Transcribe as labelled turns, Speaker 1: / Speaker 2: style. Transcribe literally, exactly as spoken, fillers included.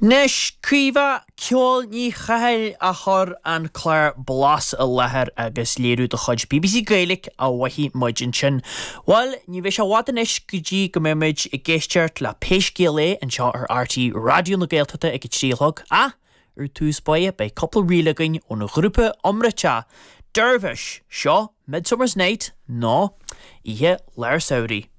Speaker 1: Anois Caoimhe Ceol Ní Chathail a chuir an clár Blas i láthair agus léiriú de chuid BBC Gaeilge a mhothaigh muid ansin. Bhuel, ní bheidh sé i bhfad anois go dtí go mbeimid ag éisteacht le Pé Scéal É anseo ar RTÉ Raidió na Gaeltachta ag a trí a chlog ach ar tús báire beidh cúpla ríl againn ón ghrúpa iomráiteach Dervish seo Midsummer's Night nó Oíche Lár Samhraidh.